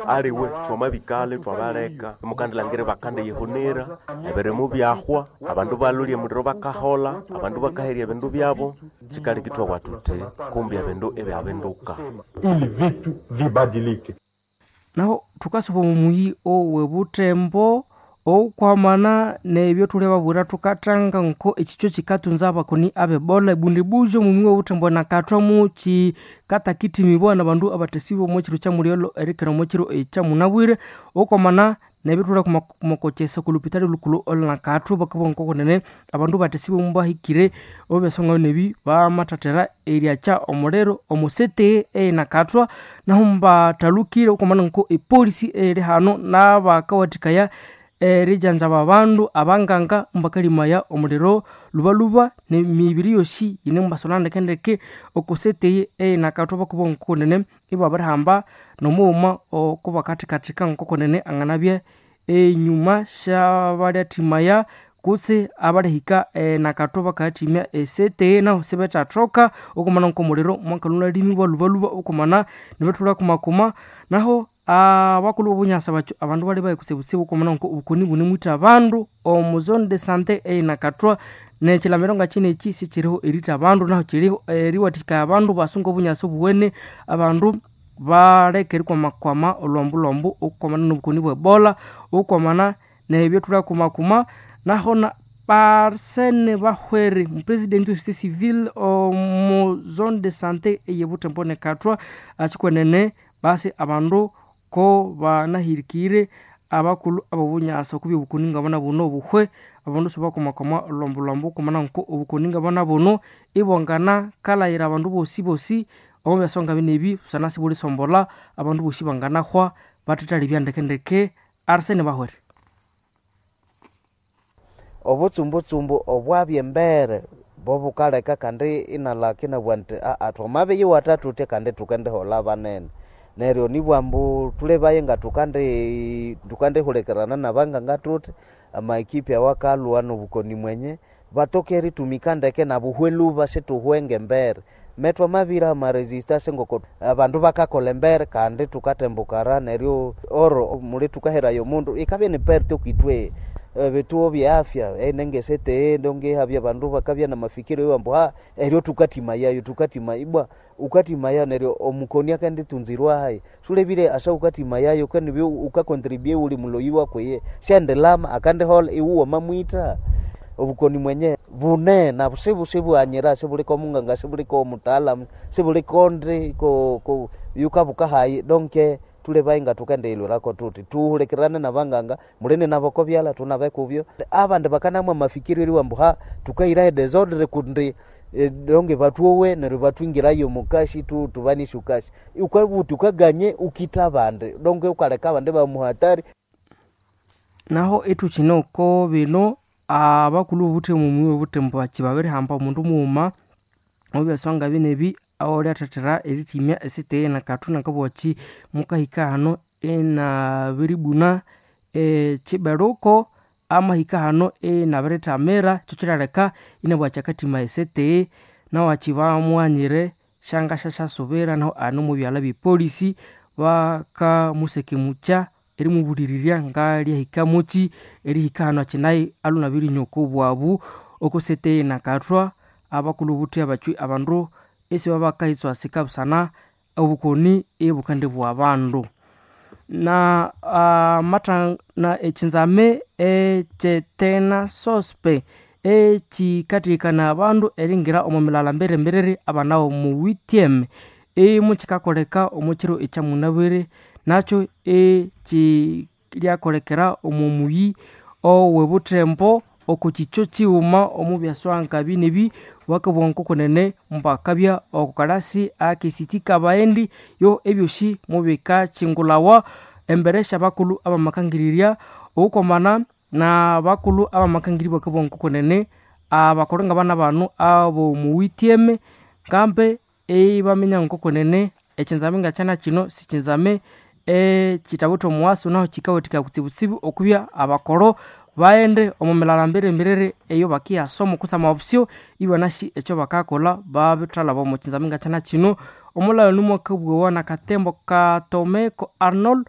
Aliwe twamabikale twabaleka imukandilhangira bakandiyihunira ebirimu byahwa, abandu balolya emuliro bakahola, abandu bakaherya ebindu byabo. Kyikaleka ithwabugha thuthi kumbi ebindu ibyabinduka. Ili vitu vibadilike. Naho thukasuba omo muyi owe Butembo okwamana nebyo thulibabwira thukathanga nko ekikyo kikatunza abakoni ab'Ebola ebundibujo omu muyi w'obuthembo nakathwa mukikatakithimibwa nabandu abathasibwe omo kiro kya mulyolho erikera omo kiro ekyamunabwire. Okwamana nebyo thulhe mokokyesa okwa lupitali lhukulhu olhunakathwa bakabugha ngokunene abandu bathasibwe mubahikire omubyasongayo nebi bamathathera eryakya omuliro omo city eyenakathwa. Nahu mbathalukire okwamana nko epolisi eyiri hano nabakawathikaya erijanjaba abandu abanganga mubakalimaya omuliro lhubalhuba nemibiri yosi yinemubasolha ndekendeke oko city eyenakathwa. Bakabugha ngokunene ibabirihamba nomughuma okubakathikathika ngokunene anganabya enyuma syabalyathimaya kutse abalihika enakathwa bakayathimya ecity. Nahu sibethathoka okwamana nkomuliro mwakalhwa lhubalhuba okwamana nibithulha kumakuma. Nahu abakulhu bobunyasa bakyo abandu balhi kutsibutsibu okwamana nko obukoni bunemwitha abandu omu zone de sante eyenakathwa. Nekyilamiro ngakyinekyi sikyiriho eritha abandu, nahu kyiriho eriwathikaya abandu basunga obunyasi obuwene, abandu baleke erikwamakwama olhwambulhwambu okwamana nobukoni bwe Ebola okwamana nebyo thulha kumakuma. Naho Arsene Bahwere omupresidenti we société civile omu zone de sante eyebuthembo nekathwa akikwenene basi abandu ko banahirikire abakulhu abobunyasa okubya obukoni ngabana buno obuhwe. Abandu sibakwamakwama olhwambulhwambu okwamana nko obukoni ngabana buno ibwangana kalayira abandu bosibosi omo byasonga binebi busana sibulisombolha abandu bosi banganahwa bathethalibya ndekendeke. Arsene Bahwere. Obutsumbutsumbu obwabya embere bobukaleka kandi inalaka inabugha nti aa twamabiyiwatha thuthya kandi thukendiholha banene. Neryo nibugha ambu thulebaye nga thukandihulikirana nabanganga thuthi amaekipi awakalhwa nobukoni mwenye batoke eritumika ndeke nabuhwe lhuba sithuhwe ngembere. Metwamabira amaresistance ngoko abandu bakakolha embere kandi thukatembukara neryo oro muli thukaheraya omundu ikabya ni perte okwithwe. Ebituo bye afya enengesete ndonge habya abandu bakabya namafikiro ambu ha eryo thukathimayayo thukathima ibwa ukathimayayo neryo omukoni akenditunzirwa hayi. Sulebire asa ukathimayayo kandi ukakontribue uli muloyi wakweye syandilama akandiholha iwe wamamwitha. Obukoni mwenye bune nabu sibuhanyira sibuliko omunganga sibuliko omutaalamu sibuliko ndi yukabuka hayi donke thulebaye nga thukendiyilhwirako thuthi thuhulikirane nabanganga mulini nabo okobyalha thunabe kubyo. Abandi bakanamwa amafikiro eriwa ambu ha thukahiraho edesordre kundi donge batwowe neryo bathwingirayo omukashi thubanisye kashi. Ukabugha wuthi wukaganye ukitha abandi donge wukaleka abandi ibamuhatari. Naho ithukine oko bino abakulhu bobuthemu omuyi wobuthembo bakyi babirihamba omundu mughuma omubyasonga binebi awalyathethera erithimya esite eyenakathwa nakabugha mukahika hano inabiribuna ekyiberuko amahika hano inabirithamira. Kyo kyiraleka inabugha akathima esete nawakyi bamughanyire syangasyasyasubira. Nahu ane omubyalha bye polisi bakamusekemukya erimubulirirya ngalyahika mukyi erihika hano akyinayo alwe inabirinywa oko bwabu oko site eyenakathwa. Abakulhu bobuthe abakyi abandu isibabakayitswasika busana obukoni ibukendibugha abandu. Na ekyinzame ekyetena sospe ekyikatheghekana abandu eringira omo milala mbirembirere abana omu withyeme imukikakoleka omo kiro ekyamunabwire. Nakyo ekyiryakolekera omo muyi owebuthembo oko kikyo kighuma omu byaswanga binebi. Bakabugha ngokunene mbakabya oko kalasi akesiti kabaghendi yo ebyosi mubikakyingulhawa embere syabakulhu abamakangirirya okwamana nabakulhu abamakangirya bakabugha ngokunene abakolho ngabana bano abomuwithyeme ngambe ibaminya ngokunene ekyinzame ngakyana kino sikyinzame ekyithawithe omuwasu. Nahu kyikawathikaya kutsibutsibu okubya abakolho baghende omo milala mbirembirere eyo bakiyasoma kutse amabusyo ibanasi ekyo bakakolha babithalaba omo kyinzame ngakyana kino. Omulhaghano mwakabughawa nakatembo katomeko Arnold.